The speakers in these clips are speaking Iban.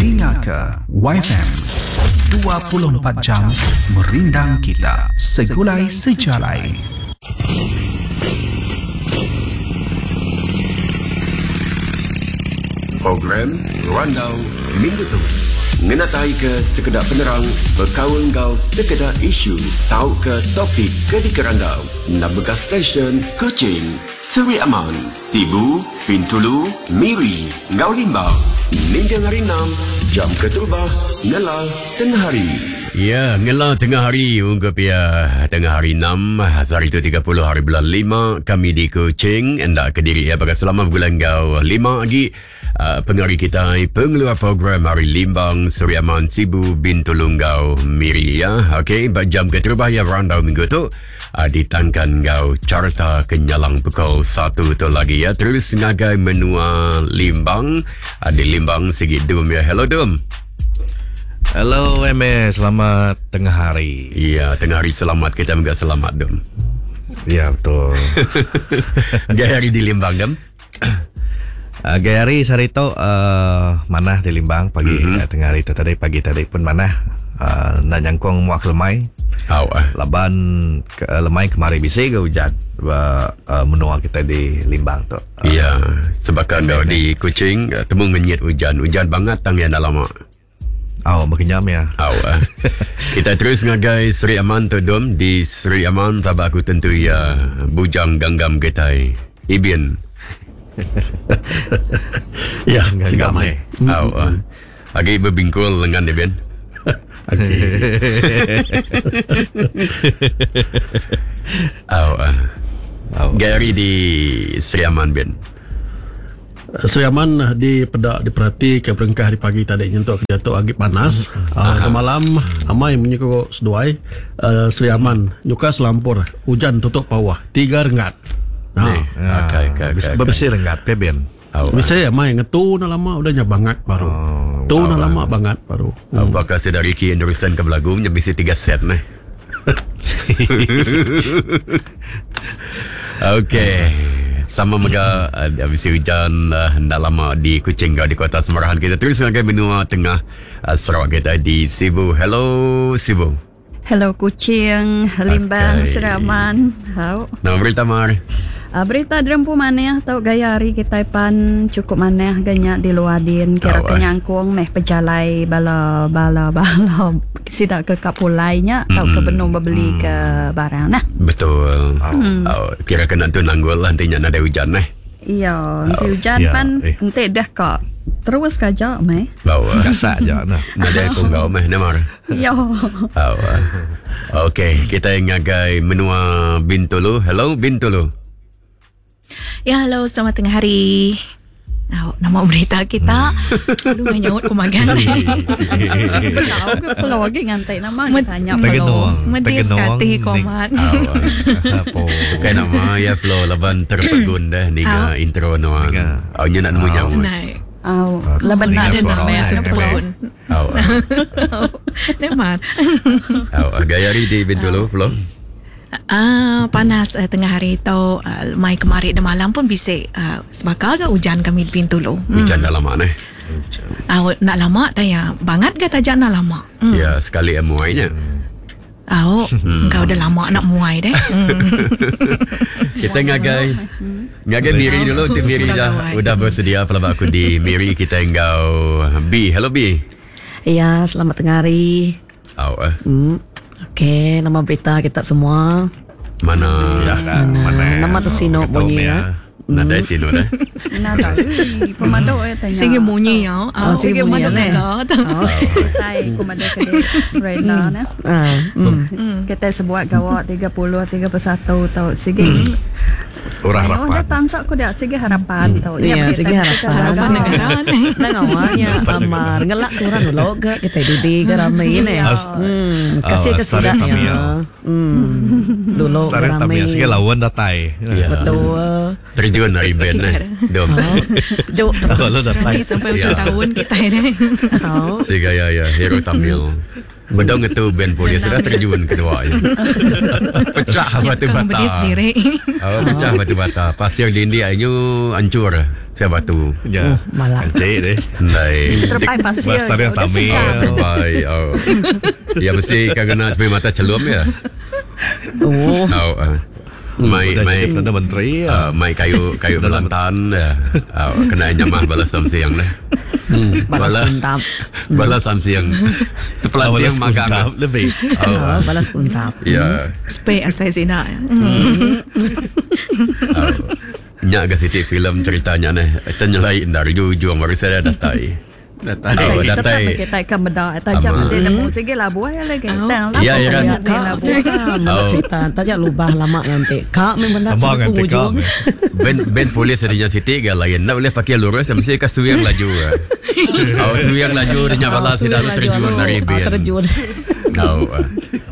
Dinga ke WaiFm 24 jam merindang kita segulai sejalai. Program Randau Minggu tu ngenataika sekeda penerang bekaul enggau sekeda isu tauka topik ke dikerandau nambahka stesyen Kuching, Seri Aman, Sibu, Bintulu, Miri enggau Limbang ninting Hari Enam jam keterubah ngela tengah hari. Ya, ngela tengah hari ungkup iya tengah hari enam sehari tu 30 hari bulan lima kami di Kuching enda kediri iya baka selama begulai enggau lima agi uh, pengari kitai pengeluar program hari Limbang, Seri Aman, Sibu, Bintulu enggau Miri ya. Okey, ba jam keterubah iya randau minggu tu uh, ditangkan enggau carta kenyalang pukul 1 tu lagi ya. Terus ngagai menua Limbang, uh, di Limbang sigi Dum ya. Hello Dum. Hello MS, selamat tengah hari. Ya, tengah hari selamat kita juga selamat Dum. Ya, betul. Gaya hari di Limbang Dum. Gaya hari sehari tu uh, manah di Limbang pagi mm-hmm. uh, tengah hari tu tadi pagi tadi pun manah uh, enda nyangkung muak lemai. Oh, uh. Laban ke, lemai kemari bisi ke hujan ba uh, menua kita di Limbang tu. Uh, ya, sebab kan di Kuching temu ngenyit hujan. Hujan banget tang yang dah lama. Oh, berkenyam ya. Oh, uh. Kita terus ngagai Seri Aman tu Dom. Di Seri Aman tabak aku tentu ya bujang ganggam kita Ibin. Ya, segamai. Oh, uh. Agi berbingkul lengan Ibin. Agi. Oh, uh. Gary di Seri Aman Bin. Sri Aman di peda diperhati ke berengkah hari pagi tadi nyentuk ke diatu agi panas. Uh, malam amai munyi ko seduai uh, Sri Aman nyuka selampur ujan tutup pawah tiga renggat. Ha. Okey okey okey. Berbesi renggat pe Ben. Oh, Bisi amai ngetu enda lama udah nya bangat baru. Oh, tu enda lama bangat baru. Hmm. Bakal saya dari Ricky Anderson ke belagu nya bisi tiga set meh. Okey. Sama mega uh, bisi hujan uh, enda lama di Kuching di Kota Semarahan kita terus ngagai menua tengah uh, Sarawak kita di Sibu. Hello Sibu. Hello Kuching, Limbang, Okey. Seraman. Hau. Nama berita Mar. Berita derempu manah tau gaya hari kita pan cukup manah ganya di luar din kira Oh, ke nyangkung meh pejalai bala bala bala sida ke kap pulai nya tau ke benung bebeli ke barang nah. Betul. Oh, kira kena tu nanggul lah nanti nya nadai hujan eh. Iya, nanti hujan ya, pan eh. enti dah kak terus kaja meh. Bau. Gasak je nah. Nadai aku ngau meh Namar. Iya. Oh. Okey, kita ngagai menua Bintulu. Hello Bintulu. Ya, halo, selamat tengah hari. Oh, nama berita kita. Lu nyaut ku magang. Tahu ke pulau lagi ngantai nama tanya pulau. Tegenung. Medis Tegenung. kati komat. Apa? Bukan nama ya Flo laban terpegun dah ninga intro nuan. Ninga. Oh, nya nak nemu nyawa. Nai. Au, laban Ninga nak Ada suara nama orang, yang eh, pelun. Oh. Nemar. Oh, gaya hari di Bintulu Flo. Ah, panas eh, tengah hari tu uh, mai kemari de malam pun bisik uh, sebakal ke hujan kami di Bintulu. Hmm. Hujan dah lama nih. Ah, nak lama tanya bangat ke tajak nak lama. Hmm. Ya, sekali muainya. Ah, engkau dah lama nak muai deh. Hmm. Kita ngagai ngagai Miri dulu untuk Miri dah udah bersedia pelabak aku di Miri kita enggau B. Hello B. Ya, selamat tengah hari. Oh, eh. Okey, nama berita kita semua. Mana Ya, Mana? Nama tersino bunyi ya. Nadai sino dah. Nah, ui, pemadu eh tanya. Sigi bunyi ya. Oh, sigi bunyi, madu eh. kata. Tai ku madu ke Rena nah. Ah, hmm. Kita sebuat gawak 30 31 tau sigi. Orang Ayo, harapan. dah tangsak ku dah sigi harapan tau. Ya, kita- sigi kita harapan. Harapan negara. Nang awalnya amar ngelak ke orang dulu ke kita dudi ke ramai ni. As- Hmm, kasih Oh, ke sare sudah tamia. ya. Hmm. Dulu ke Sare ramai. tamia sikit lawan datai. Ya. Betul. Terjun dari band eh. Dom. Juk Lalu terus. datai. Sampai hujung Ya. tahun kita ini. Oh. Si gaya ya hero Tamil. Bedau ngetu band polis sudah terjun kedua ya. Pecah batu Kang bata. berdiri sendiri. Oh, pecah batu bata. Pasir dinding ayu hancur. Saya batu. Ya. Oh, malah. Encik deh. Ndai. Terpai pasir. Bas tarian Udah Tamil. sedap. Terbaik. Oh. Ya mesti kau kena supaya mata celum ya. Oh. Oh. Mai Udah mai jadi Perdana Menteri ya. Mai kayu kayu belantan ya. Oh, kena nyamah balas samsiang lah. Balas Bala- kuntap. Balas samsiang. Terpelanting Balas magang. kuntap lebih. Oh. Ah, balas kuntap. Ya. Spek asai sina. Oh. Nyak ke sitik filem ceritanya ni. Ternyelai dari ujung baru saya datai. Datai. Oh, Tetap datai. kita akan beda. Tajam Ama. nanti nemu segi labu ya lagi. Tang labu. Ya, ya kan? Ya, Nanti kak, labu. kak, mana Oh. cerita. Tajak lubah lama nanti. Kak memang benda Abang sampai nanti kak. penghujung. Band band polis adanya Siti ke lain. Nak boleh pakai lurus mesti ke suyang laju. eh. Oh, suyang laju dia balas Ah, tidak suyang terjun laju, dari ah, band. Terjun. Oh.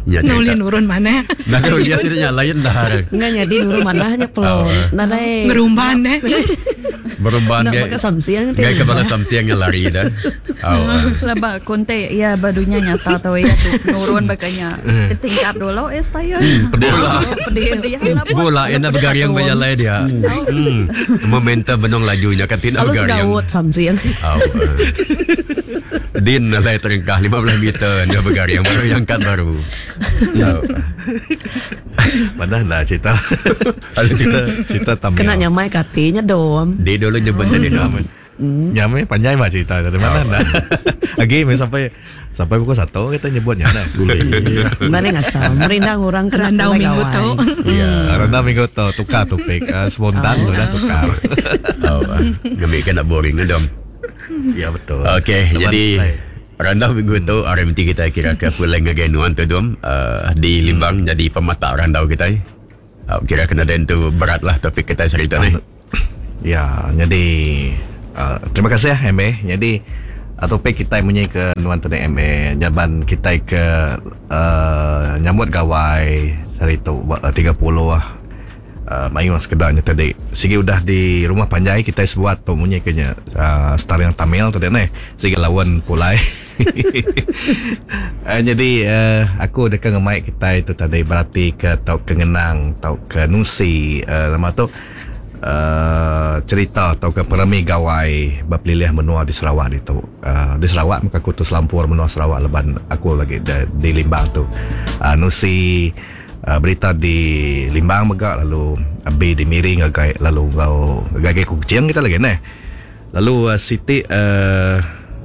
Ya Nuli cerita. nurun mana? Nah, kalau dia sidaknya lain dah. Enggak jadi nurun mana hanya pelon. Oh. Nadai. Ngerumban deh. Berumban Nak ke. pakai samsiang nanti. Gaya kepala samsiang yang lari dah. Oh. Lebak konte ya badunya nyata tau ya tu nurun bakanya. Tingkap dulu eh saya. Bola. Pedih. Bola enak bergariang berjalan dia. Momentum benong lajunya kan tidak Kalau bergariang. segawut samsiang. Oh, Din nalai terengkah 15 meter dia bergariang baru yang angkat baru. Oh. Mana lah cerita. Ada cerita Cerita Tamil. Kena nyamai katinya dom. Dia dulu nyebut tadi dom. Nyamai panjang mah cerita dari mana dah. Lagi mi sampai sampai pukul 1 kita nyebutnya dah. Mana ngacau. Merindang orang kena Randau pulai minggu gawai. tu. Ya. Karena minggu tu tukar topik spontan tu dah tukar. Oh, ngambil kena boring ni dom. Ya betul. Okey, Teman jadi saya. randau minggu tu RMT kita kira ke pulang ngagai nuan tu dom di Limbang jadi pemata randau kita. Kira kena dan tu berat lah topik kita cerita ni. Ya, jadi terima kasih ya MA. Jadi topik kita munyi ke nuan tadi MA jaban kita ke nyambut gawai hari tu 30 lah. Mayu sekedarnya tadi. Sigi udah di rumah panjai kita sebuat tu munyi kenya star yang Tamil tadi ni. Sigi lawan pulai. Jadi aku dekat ngemaik kita itu tadi berarti ke tau ke ngenang tau ke nusi nama tu cerita atau ke perami gawai berpilih menua di Sarawak itu. Di Sarawak maka aku tu selampur menua Sarawak leban aku lagi di Limbang tu. Nusi berita di Limbang mega lalu B di Miring agai lalu ngau gagai kucing kita lagi neh. Lalu Siti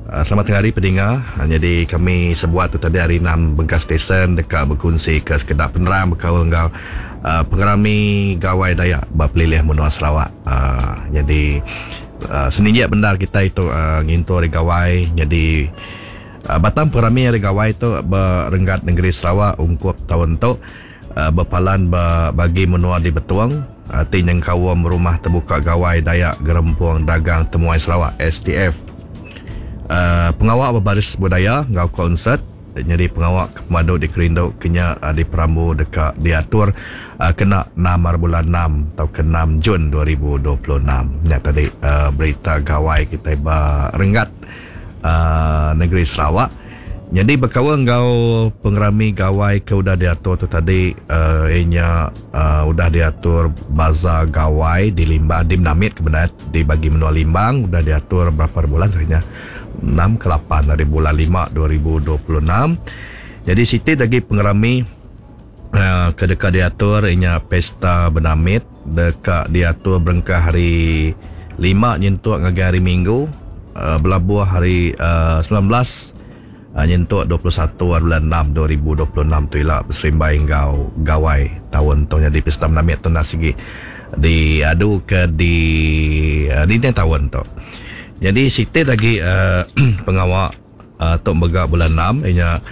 selamat tengah hari pendengar. Jadi kami sebuat tu tadi hari 6 Bengkas Station dekat berkongsi ke sekedar penerang berkaul dengan pengerami Gawai Dayak berpelilih menua Sarawak. Jadi seninjak bendar kita itu ngintu hari Gawai. Jadi Batam pengerami hari Gawai tu berenggat negeri Sarawak ungkup tahun tu berpalan bagi menua di Betuang ti nyengkawam rumah terbuka Gawai Dayak Gerempung Dagang Temuai Sarawak STF. Pengawal berbaris budaya ngau konsert jadi pengawal kemadu di Kerindu kenya di Perambu dekat diatur kena 6 hari bulan 6 atau ke 6 Jun 2026. Ya tadi berita gawai kita berenggat negeri Sarawak. Jadi berkawan ngau pengerami gawai ke udah diatur tu tadi ianya udah diatur bazar gawai di Limbang di Menamit kebenaran di bagi menua Limbang udah diatur berapa bulan sebenarnya 6 ke 8 dari bulan 5 2026. Jadi Siti lagi pengerami ke dekat diatur ianya pesta Benamit dekat diatur berengkah hari 5 nyentuk ngagai hari Minggu belabuh hari 19 nyentuk 21 hari bulan 6 2026 tu ila berserimbai ngau gawai tahun tu jadi pesta Benamit tu nak segi diadu ke di di tahun tu. Jadi Siti lagi pengawak Tok Megak bulan 6 ianya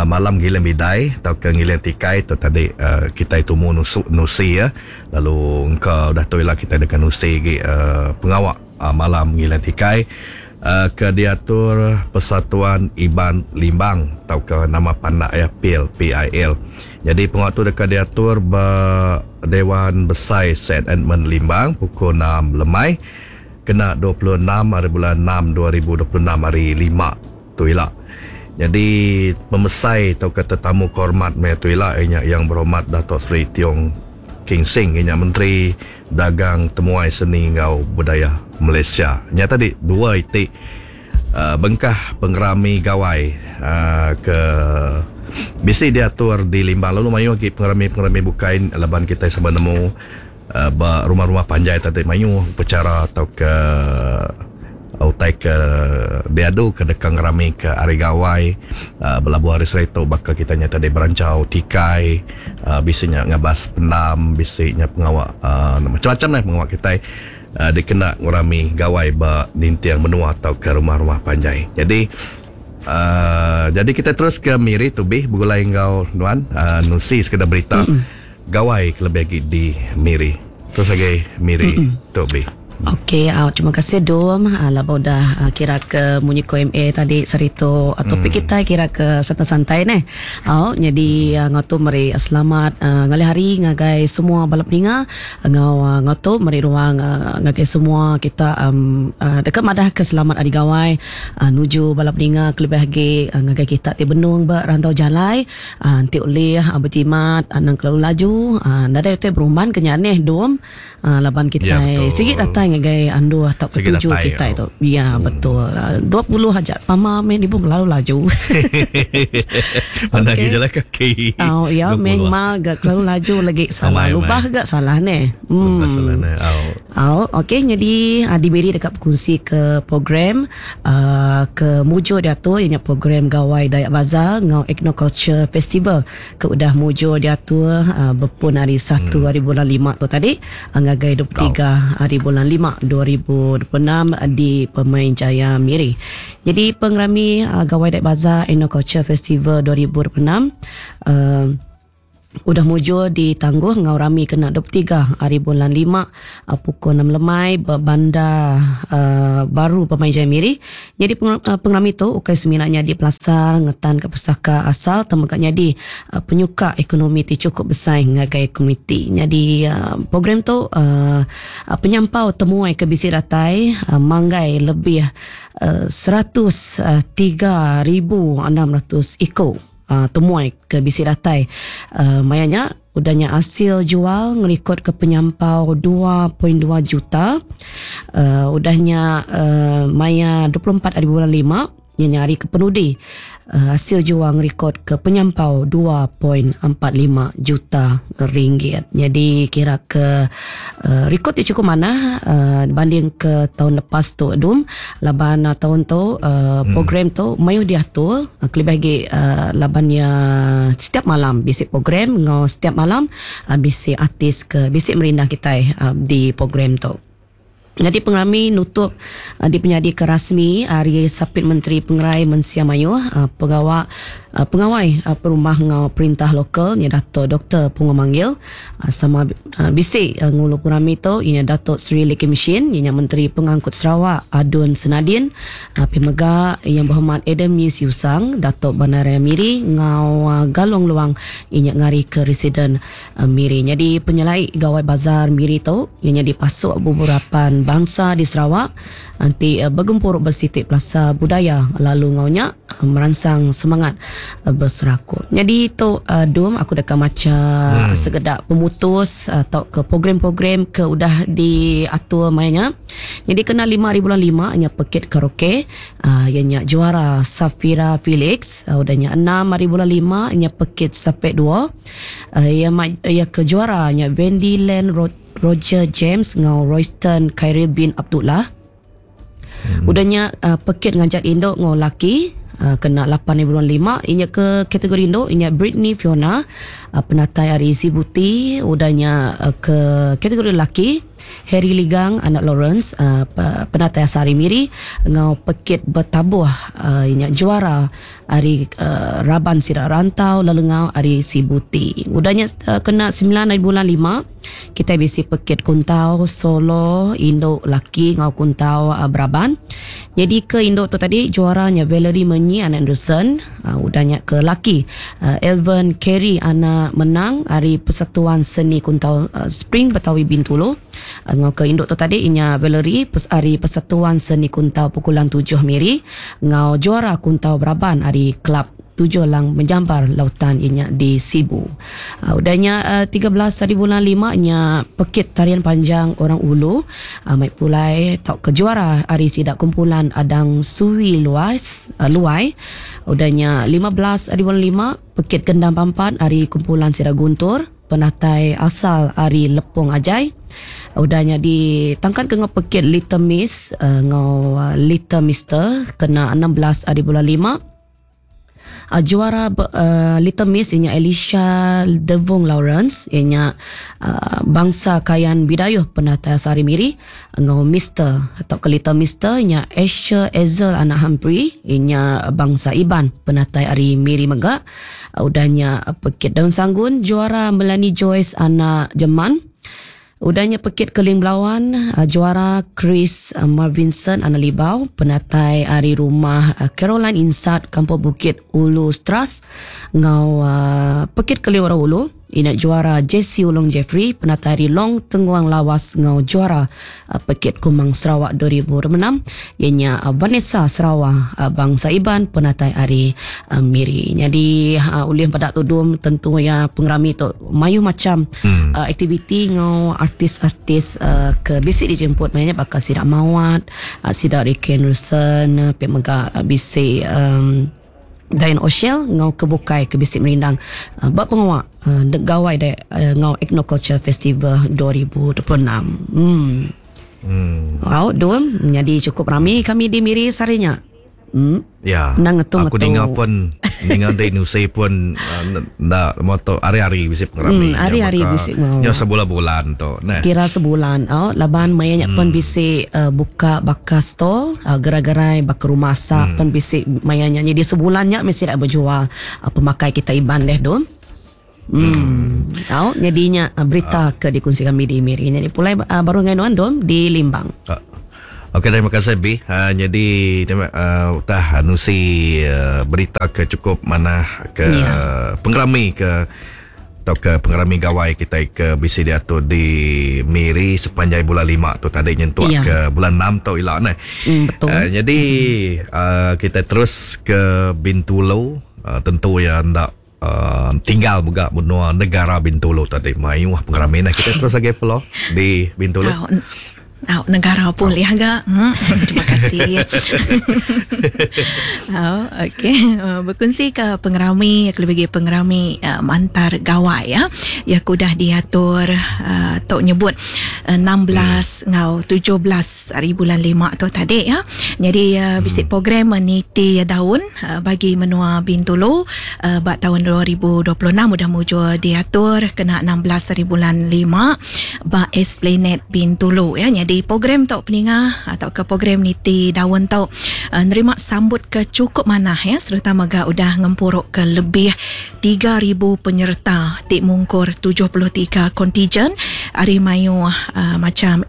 malam giling bidai atau ke giling tikai tu tadi kita itu mu nusi ya. Lalu engkau dah tu ialah kita dekat nusi lagi pengawak malam giling tikai ke diatur Persatuan Iban Limbang atau ke nama pandak ya PIL PIL. Jadi pengawak tu dekat diatur Dewan Besar St Edmund Limbang pukul 6 lemai kena 26 hari bulan 6 2026 hari 5 tu ila. Jadi pemesai atau ke tetamu kehormat maya tu ila iya nya Yang Berhormat Dato Sri Tiong King Sing iya nya Menteri Dagang Temuai Seni enggau Budaya Malaysia. Nya tadi dua iti uh, bengkah pengerami gawai uh, ke bisi diatur di Limbang lalu mayuh agi pengerami-pengerami bukai laban kitai sama nemu uh, ba rumah-rumah panjai tadi mayuh upacara atau ke utai ke diadu ke deka ngerami ke hari gawai uh, belabuh hari sehari tu baka kita nya tadi beranchau tikai uh, bisi nya ngabas pendam bisi nya pengawa uh, macam-macam lah pengawa kitai uh, dikena ngerami gawai ba ninting menua atau ke rumah-rumah panjai. Jadi uh, jadi kita terus ke Miri Tubi begulai enggau nuan uh, nusi sekeda berita gawai ke lebih lagi di Miri. Terus lagi Miri Tubi. Okey, terima kasih Dom. Laba udah kira ke munyi ko MA tadi serito topik kita kira ke santai-santai neh. Jadi ngau tu meri selamat ngalih hari ngagai semua bala peninga ngau ngau tu meri ruang ngagai semua kita um, deka madah ke selamat hari gawai nuju bala peninga kelebih agi ngagai kita ti benung ba rantau jalai enti ulih bejimat anang kelalu laju nadai utai berumban ke nya neh Dom. Laban kitai Ya, betul. sigi datai ngagai andu atau Sigi ketuju datai, kitai oh. tu. Ya, betul. 20 aja pama meh dibu kelalu laju. Mana Okey. lagi jalan kaki. Oh, ya 20. memang gak kelalu laju lagi salah. Amai, amai. Lubah gak salah neh. Lubah salah neh. Oh. Oh, okey jadi diberi dekat berkongsi ke program ke mujur diatur ianya program Gawai Dayak Bazaar ngau Ethnoculture Festival ke udah mujur diatur berpun hari 1 hari bulan 5 tu tadi ngagai 23 hari bulan 5 2026 di Pemain Jaya Miri. Jadi pengerami Gawai Dayak Bazaar Ethnoculture Festival 2026 udah mujur ditangguh ngau rami kena 23 hari bulan 5 pukul 6 lemai ba bandar baru Pemain Jaya Miri. Jadi pengerami tu ukai seminatnya di pelasar ngetan ke pesaka asal temegaknya di penyuka ekonomi ti cukup besar ngagai komuniti. Jadi program tu penyampau temuai ke bisi datai manggai lebih 103,600 iko temuai ke bisi datai. Mayanya udahnya hasil jual ngerekod ke penyampau 2.2 juta. Udahnya maya 24 hari bulan 5 nya nyari ke penudi hasil jual ngerekod ke penyampau 2.45 juta ringgit. Jadi kira ke rekod ti cukup manah banding ke tahun lepas tu dum laban tahun tu program tu mayuh diatur kelebih lagi laban ya setiap malam bisi program ngau setiap malam bisi artis ke bisi merindang kita di program tu. Jadi pengerami nutup di penyadi ke rasmi hari Sapit Menteri Pengerai Mensia Mayuh pegawai pengawai perumah ngau perintah lokal nya Dato Dr Pungo Manggil sama bisi ngulu pengerami tu ianya Dato Sri Lee Kim Shin ianya Menteri Pengangkut Sarawak Adun Senadin Pemega Yang Berhormat Adam Yus Yusang Dato Bandaraya Miri ngau Galong Luang ianya ngari ke Residen Miri. Jadi penyelai Gawai Bazar Miri tu ianya dipasuk beberapa bangsa di Sarawak nanti bergempur bersitik plaza budaya lalu ngaunya merangsang semangat berserakut. Jadi tu dum aku dekat maca segedak pemutus atau ke program-program ke udah diatur mainnya. Jadi kena 5 hari bulan 5 nya pekit karaoke ianya juara Safira Felix udahnya 6 hari bulan 5 nya pekit sapek 2 ia ke juara nya Wendy Land Roger James ngau Royston Khairil bin Abdullah. Udahnya pekit ngajak induk ngau laki kena 8 bulan 5 inya ke kategori induk inya Britney Fiona penatai hari Sibuti. Udahnya ke kategori laki Harry Ligang anak Lawrence penatai Sari Miri ngau pekit bertabuh inya juara hari Raban Sirak Rantau lalu ngau hari Sibuti. Udahnya kena 9 bulan 5 Kitai bisi pekit kuntau solo indu laki enggau kuntau beraban. Nyadi ke indu tu tadi juara nya Valerie Menyi anak Anderson, udah nya ke laki Elven Kerry anak Menang ari Persatuan Seni Kuntau Spring Betawi Bintulu. Enggau ke indu tu tadi inya Valerie ari Persatuan Seni Kuntau Pukulan Tujuh Miri enggau juara kuntau beraban ari Kelab Tujuh Lang Menjambar Lautan inya di Sibu. Udah nya 13 hari bulan 5 nya pekit tarian panjang Orang Ulu mai pulai tauka juara ari sida kumpulan Adang Suwi Luas Luai. Udah nya 15 hari bulan 5 pekit gendang pampat ari kumpulan sida Guntur penatai asal ari Lepong Ajai. Udah nya ditangkan ke enggau pekit Little Miss enggau Little Mister kena 16 hari bulan 5. Juara Little Miss inya Elisha Devung Lawrence inya bangsa Kayan Bidayuh penatai asal ari Miri enggau Mister tauka Little Mister inya Asher Ezel anak Humphrey inya bangsa Iban penatai ari Miri mega. Udah nya pekit Daun Sanggun juara Melanie Joyce anak Jeman. Udah nya pekit Keling Belawan, juara Chris Marvinson anak Libau, penatai ari rumah Caroline Insat, Kampung Bukit Ulu Stras, enggau pekit Keling Orang Ulu, ina juara Jesse Ulung Jeffrey, penatai ari Long Tenguang Lawas enggau juara pekit Kumang Sarawak 2026, iya nya Vanessa Sarawak bangsa Iban, penatai ari Miri. Nyadi ulih peda tudung tentu iya pengerami tu mayuh macam aktiviti ngau artis-artis ke bisi dijemput maya nya baka sida Mawat, sida Ricky Anderson, pia mega bisi Diane Oshel ngau ke bukai ke bisi merindang ba pengawa Gawai Dayak ngau Ethnoculture Festival 2026. Au dum nyadi cukup rami kami di Miri sehari nya. Ya. Endang ngetu Aku ngetu. ninga pun ninga dei nusi pun enda mo tu hari-hari bisi pengerami. Hari-hari bisi mau. Nyau sebulan-bulan tu neh. Kira sebulan au laban maya nya pun bisi buka baka stall gerai-gerai baka rumah asap pun bisi maya nya. Jadi sebulan nya mesti dak bejual pemakai kita Iban deh dum. Au nyadi nya berita ke dikunsi kami di Miri. Nyadi pulai baru ngai nuan dom di Limbang. Okey terima kasih B. Nyadi terima utah nusi berita ke cukup manah ke pengerami ke atau ke pengerami gawai kita ke bisi diatur di Miri sepanjai bulan 5 tu tadi nyentuk ke bulan 6 tu ila neh. Betul. Jadi kita terus ke Bintulu, tentu ya ndak tinggal mega menua negara Bintulu tadi mayuh pengerami nah kita terus lagi follow di Bintulu. Au negara pun boleh agak. Terima kasih. Okey, berkongsi ke pengerami lebih pengerami mantar gawai ya. Ya kudah diatur tok nyebut 16 ngau 17 hari bulan 5 tu tadi ya. Jadi bisi program niti daun bagi menua Bintulu bak tahun 2026 udah mujur diatur kena 16 hari bulan 5 bak Esplanade Bintulu ya. Jadi program tok peninga atau ke program niti daun tok nerima sambut ke cukup manah ya, serta mega udah ngempuruk ke lebih 3,000 penyerta ti mungkur 73 kontijen ari mayu macam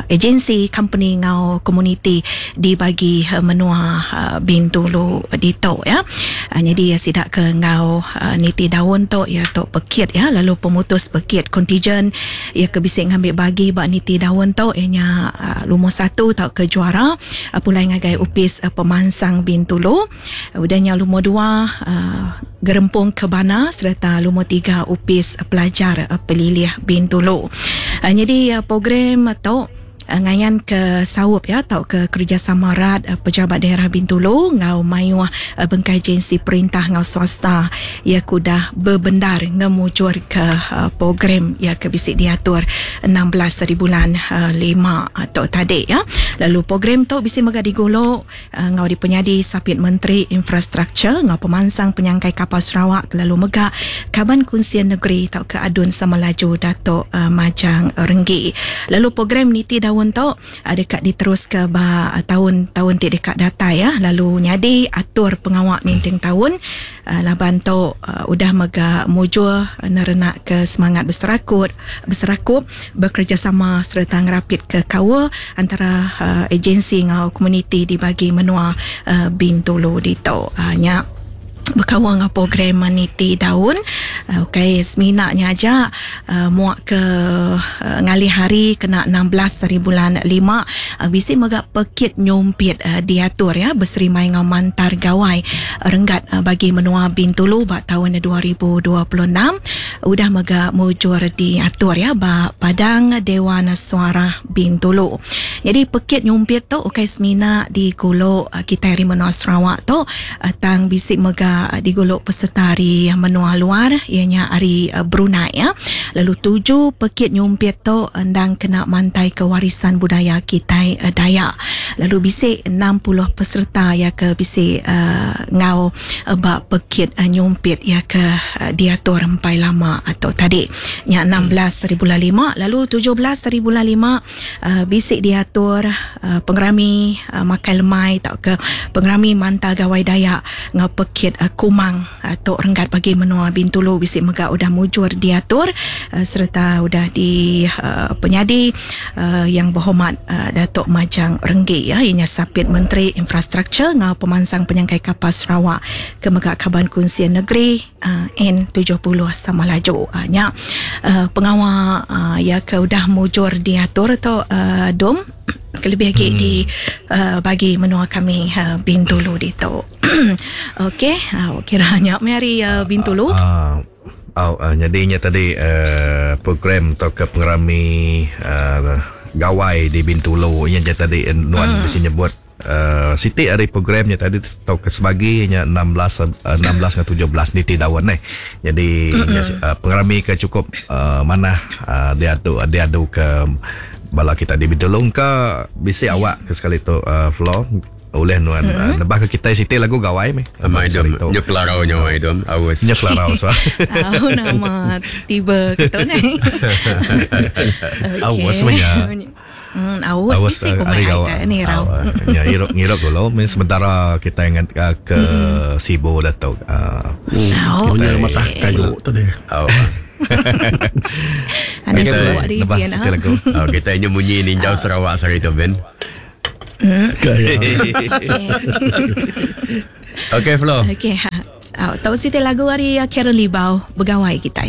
agensi, company ngau komuniti dibagi menua Bintulu ditu ya. Jadi sidak ke ngau niti daun tok ya tok pekit ya, lalu pemutus pekit kontijen ya ke bisi ngambil bagi bak niti daun tok ianya lumur 1 tau ke juara pulai ngagai upis pemansang Bintulu. Udahnya lumur 2 Gerempung Kebana serta lumur 3 upis pelajar Pelilih Bintulu. Jadi program tok ngayan ke saup ya atau ke kerjasama rat pejabat daerah Bintulu ngau mayuh bengkai agensi perintah ngau swasta ya kudah berbendar ngemujur ke program ya ke bisi diatur 16 hari bulan 5 atau tadi ya. Lalu program tu bisi mega digolok ngau dipenyadi Sapit Menteri Infrastruktur ngau Pemansang Penyangkai Kapal Sarawak lalu mega Kaban Kunsian Negeri atau ke Adun Samalaju Datuk Majang Renggi. Lalu program niti daun taun tu deka diteruska ba taun-taun ti deka datai ya lalu nyadi atur pengawa ninting taun laban tu udah mega mujur nerenak ke semangat beserakup bekerjasama sereta ngerapit ke kaul antara agensi enggau komuniti di bagi menua Bintulu ditu. Nya berkaul dengan program niti daun. Okey, seminaknya aja muak ke ngalih hari kena 16 hari bulan 5 bisi mega pekit nyumpit diatur ya berserimai dengan Mantar Gawai renggat bagi menua Bintulu ba tahun 2026 udah mega mujur diatur ya ba Padang Dewan Suara Bintulu. Jadi pekit nyumpit tu okey semina diguluk kita hari menua Sarawak tu tang bisi mega diguluk peserta hari menua luar ianya hari Brunei ya. Lalu tuju pekit nyumpit tu endang kena mantai ke warisan budaya kita Dayak. Lalu bisi 60 peserta ya ke bisi ngau ba pekit nyumpit ya ke diatur empai lama atau tadi. Nya 16 hari bulan 5 lalu 17 hari bulan 5 bisi diatur pengerami makai lemai atau ke pengerami Mantar Gawai Dayak ngau pekit Kumang tok renggat bagi menua Bintulu bisi mega udah mujur diatur sereta udah di penyadi yang berhormat Datuk Majang Renggi ya ianya Sapit Menteri Infrastruktur ngau Pemansang Penyangkai Kapal Sarawak ke mega Kaban Kunsil Negeri N70 Samalaju. Nya pengawa ya ke udah mujur diatur tu dom kelebih lagi di bagi menua kami Bintulu ditu. Okey, kiranya mari Bintulu. Jadinya tadi program atau ke pengerami gawai di Bintulu yang tadi nuan mesti nyebut Siti hari programnya tadi atau ke sebaginya 16 ke 17 niti daun ni. Jadi pengerami ke cukup mana dia adu ke bala kita di Bintulu ke bisi awak ke sekali tu floor oleh nuan nebah ke kita Siti lagu gawai meh. Amai dom nyekelarau nyawa dom awas. Nyekelarau so. Au nama tiba ke tu ni. Awas menya. Awas bisi ku mai ai ni rau. Ya ngiruk dulu sementara kita ingat ke Sibu dah tu. Kita matah kayu tadi. Ada sebuah di lagu. Kita ini bunyi ninjau Sarawak sehari tu Ben. Okey Flo. Okey. Tahu siti lagu hari Karen Libau begawai kita.